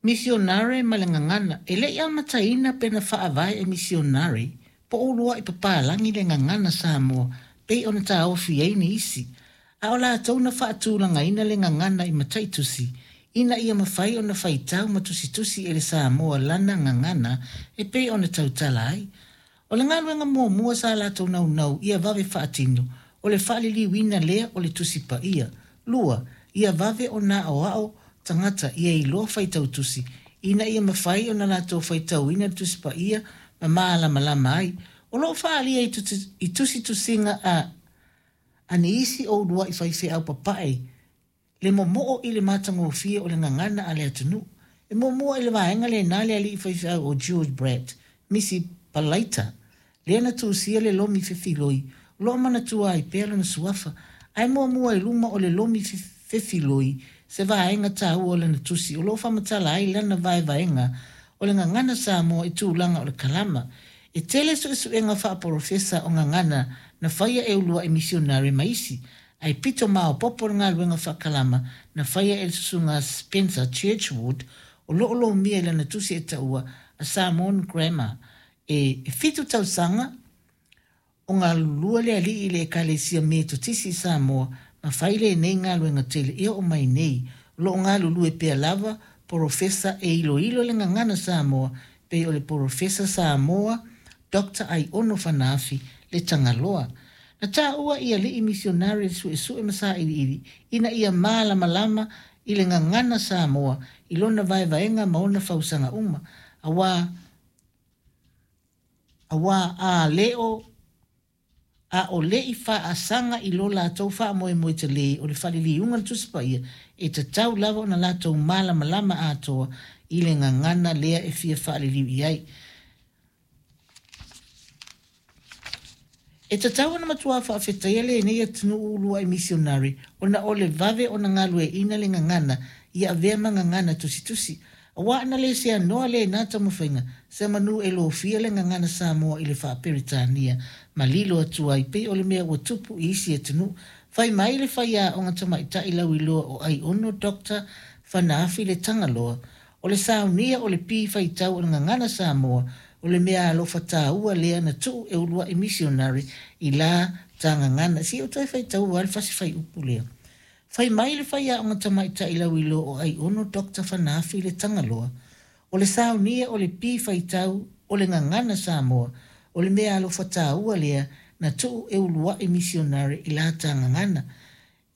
Misionare ma le gagana. E le i amataina pe na faavae e misionare po o uluai papalagi le gagana Samoa pei ona taofi ai nisi, a o latou na faatulagaina le gagana i mataitusi ina ia mafai ona faitau ma tusitusi e le Samoa lana gagana e pei ona tautala ai. O le galuega muamua sa latou naunau ia vave faatino, o le faaliliuina lea o le Tusi Paia. 2, Ia vave ona aoao tagata ia iloa faitau tusi, ina ia mafai ona latou faitauina le Tusi Paia ma malamalama ai. O lo o faaalia i tusitusiga a nisi o uluai faifeau papae le momoo i le matagofie o le gagana a le atunuu. E muamua i le vaega lena le alii faifeau o George Bradt, Misi Palaita, lea na tusia le lomi fefiloi o lo o manatua ai pea lona suafa. Ae muamua i luma o le lomi fefiloi se vaega taua o lana tusi o lo o faamatala ai lana vaevaega o le gagana Samoa i tulaga o le kalama. E tele suesuega faaporofesa o gagana na faia e uluai misionare ma isi, ae pito maopoopo le galuega faakalama na faia e le Susuga Spencer Churchward o lo o lomia i lana tusi e taua A Samoan Grammar. E 7 tausaga o galulue le alii i le Ekalesia Metotisi i Samoa ma fai lenei galuega tele e oo mai nei. O lo o galulue pea lava Porofesa e iloilo le gagana Samoa pei o le Porofesa Samoa Doctor Aiono Fanaafi le Tagaloa. Na taua i alii misionare le suesue ma sailiili ina ia malamalama i le gagana Samoa i lona vaevaega ma ona fausaga uma, aua aua a le o a o le i faasaga i lo latou faamoemoe tele o le faaliliuga o le Tusi Paia, e tatau lava ona latou malamalama atoa i le gagana lea e fia faaliliu i ai. E tatau ona matua faafetaia lenei atunuu uluai misionare ona o le vave ona galueaiina le gagana ia avea ma gagana tusitusi. Aua ana le seanoa lena taumafaiga, semeamanu e lofia le gagana Samoa i le faa-Peretania ma lilo atu ai pei o le mea ua tupu i isi atunuu. Fai mai le faiaoga tamaitai lauiloa o Aiono Doctor Fanaafi Le Tagaloa, O le saunia o le pi faitau o le gagana Samoa, o le meaalofa taua lea na tuu e uluai misionare i la ta gagana. Se i ou toe faitaua lava le fasi fuaiupu lea. Fai mai le faiaoga tamaitai lauiloa o Aiono Doctor Fanaafi Le Tagaloa, O le saunia o le pi faitau o le gagana Samoa, o le meaalofa taua lea na tuu e uluai misionare i la ta gagana.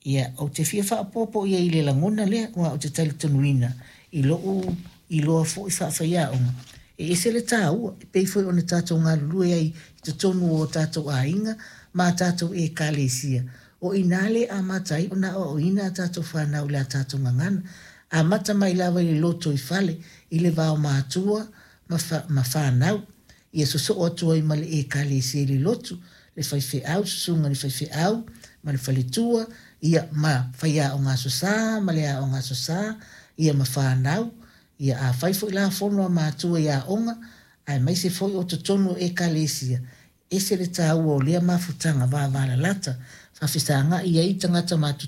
Ia, ou te fia faaopoopo i ai i le lagona lea, aua ou te talitonuina i lo'u iloa foi faafaiaoga, e ese le taua, e pei foi ona tatou galulue ai i totonu o tatou aiga ma a tatou Ekalesia. O i ina lea e amata ai ona aoaoina a tatou fanau i le a tatou gagana. Amata mai lava i le lotoifale, i le vaomatua ma, ma fanau. Ia sosoo atu ai ma le Ekalesia i le lotu, le faifeau, susuga i le faifeau ma le faletua, ia, ma faiaoga Aso Sa ma le aoga Aso Sa, ia, ma fanau. Ia, afai foi la fono a matua i aoga, aemaise foi o totonu o Ekalesia, ese le taua o lea mafutaga vavalalata, faafesagai ai tagata matutua.